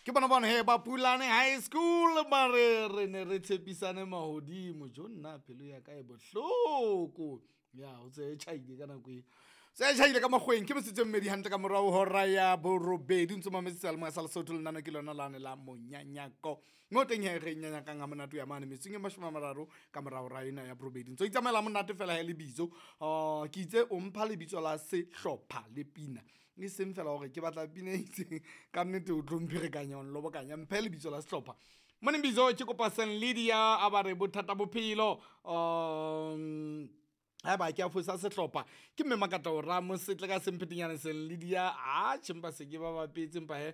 Ke bona bana he ba Pulane High School ba re re ne re tshepisane mahodimo. Jo nna pelo ya ka e bohloko. Ya o tse tjhaile ka nako e. Se tjhaile ka makgweng ke metsotso e mmedi hantle ka morao hora ya borobedi ntse mametse seyalemoya sa Lesotho lenano ke lona lane la monyanyako. Mo teng he re nyanyakang ha monate ya mane metsotsong e 30 ka morao hora ena ya borobedi. Ntso itsamaela monate fela he lebitso. Ke itse o mpha lebitso la sehlopha le pina. E seng fela hore ke batla pina e itseng ka nnete o tlo mpherekanya o nlobokanya mphe lebitso la sehlopha. Morning Bizo ke kopa St Lydia a ba re bothata bophelo. Haeba ke a fosa sehlopha ke mme Makata o ra mosetle ka semphetenyane St Lydia a tjhe se ke ba bapetse empa he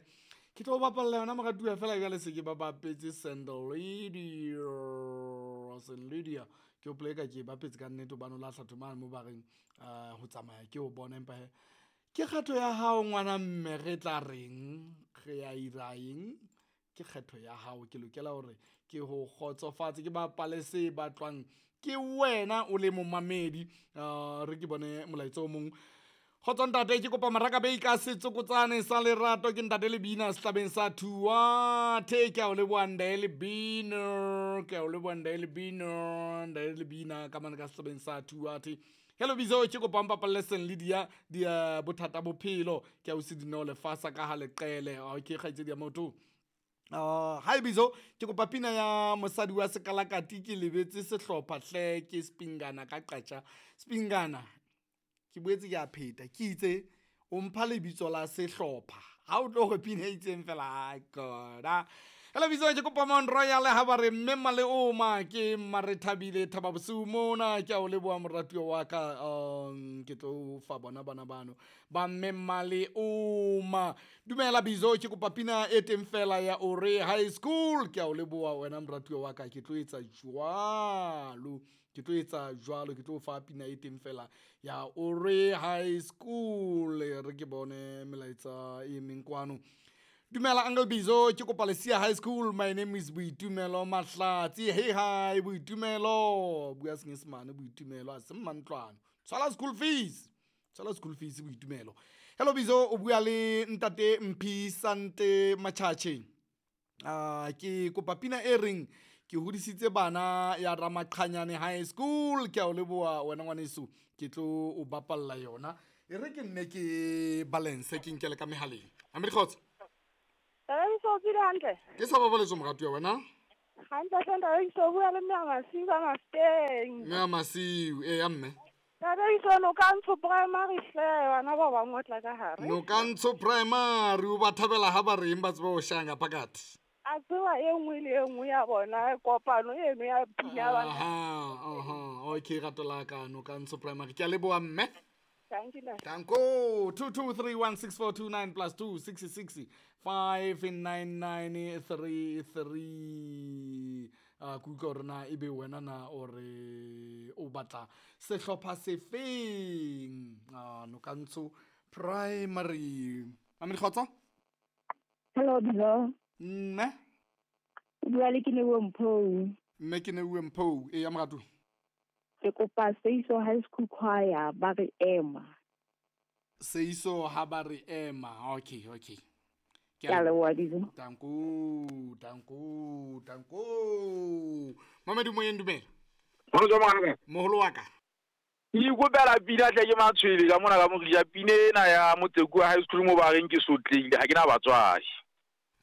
ke tlo bapalla yona moratuwa fela jwale se ke ba bapetse St Lydia. St Lydia ke hopola eka ke e bapetse ka nnete hobane o lahla thomane mo ba reng ho tsamaya ke o bona empa he ke kgetho ya hao ngwana mme re tla reng re ya ira eng ke kgetho ya hao ke lokela hore ke ho kgotsofatse ke bapale se batlwang ke wena o le momamedi. Re ke bone molaetsa o mong. Kgotso ntate ke kopa Maraka Bay ka setsokotsane sa lerato ke ntate Lebina sehlabeng sa Thuathe. Ke a o leboha ntate Lebina, ke a o leboha ntate Lebina, ntate Lebina ka mane ka sehlabeng sa Thuathe. Hello Bizo ke kopa mpapalle St Lydia di bothata bophelo ke a o se dineo lefasa ka ha leqele. Okay kgaitsedi ya motho. Hi Bizo ke kopa pina ya mosadi wa sekalakati ke lebetse sehlopha hle ke Spingana ka qatja. Spingana ke boetse ke a pheta ke itse o mpha lebitso la sehlopha ha o tlo re pina e itseng fela koda. Hello Bizo ke kopa Mount Royal ha ba re mme Maleoma ke Mmarethabile Thaba bosiu mona ke a o leboha moratuwa wa ka. Ke tlo fa bona bana bano ba mme Maleoma. Dumela Bizo ke kopa pina e teng fela ya Ore High School ke a o leboha wena moratuwa wa ka ke tlo etsa jwalo. Ke tlo etsa jwalo ke tlo fa pina e teng fela ya Ore High School. Re ke bone melaetsa e meng kwano. Dumela Uncle Bizo ke kopa Lesia High School. My name is Boitumelo Mahlatsi. Hey hi Boitumelo. Bua Senyesemane Boitumelo a se mantlwana. Tshwala school fees. Tshwala school fees Boitumelo. Hello Bizo o bua le ntate Mphi Sante Machache. Ke kopa pina e reng ke hodisitse bana ya Ramaqhanyane High School ke a o leboha wena ngwaneso ke tlo o bapalla yona. E re ke nne ke balance ke nkele ka mehaleng. A mme dikgotso? Tata Bizo o tswile hantle? Ke sa babaletso moratuwa wena? Hantle hle ntate Bizo, o bua le mme Masiu ka Mafeteng. Mme Masiu, ee ya mme. Tata Bizo, Nokantsho Primary hle, bana ba bang o tla ka hare. Nokantsho Primary, o ba thabela ha ba reng ba tseba ho shaya phakathi. A tseba e nngwe le e nngwe ya bona kopano eno ya pina ba. Aha, okay rato la ka Nokantsho Primary. Ke a leboha mme. Thank you. Danko 22316429 plus 266 59933. Ke utlwa hore na ebe wena na o re o batla sehlopha sefeng. Nokantsho Primary. Ame dikgotso? Hello Bizo. Mme? O bua le Keneuwe Mphou. Mme Keneuwe Mphou, e ya moratu. Ke kopa Seiso High School Choir ba re ema. Seiso ha ba re ema. Okay, okay. Ke a leboha Bizo. Danko, danko, danko. Mamedi moyeng dumela. Moholo wa ka. Moholo wa ka. Ke ikopela pina tle ke matshwele ka mona ka morija pina ena ya Motsekua High School mo ba reng ke sotlehile ha ke na batswadi.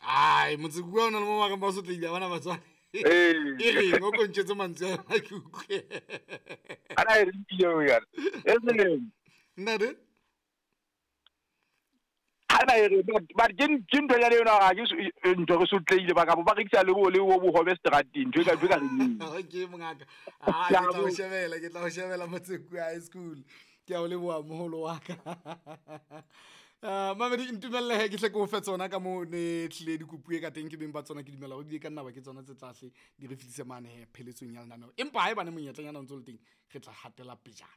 Ai, Motsekua o na le mo ba reng ba sotlehile ha bana batswadi. E reng o kontshetse mantswe a ke utlwe. Ana e reng pina eo yana? E seng. Nna re? Ana e re ba ke ntho ya yona ga ke ntho re sotlehile ba ka bo ba rekisa le bo le bo bohobe strateng ntho e ka reng. Okay mongaka. Ke tla o shebela, ke tla o shebela Motsekua High School. Ke a o leboha moholo wa ka. Mamedi ntumelle he ke hle ke o fe tsona ka mo ne tlile dikopuwe ka teng ke beng ba tsona ke dumela hore di ka nna ba ke tsona tse tlahle di re fihlise mane he pheletsong ya lenaneo. Empa haebane monyetlanyana o ntso le teng re tla hatela pejana.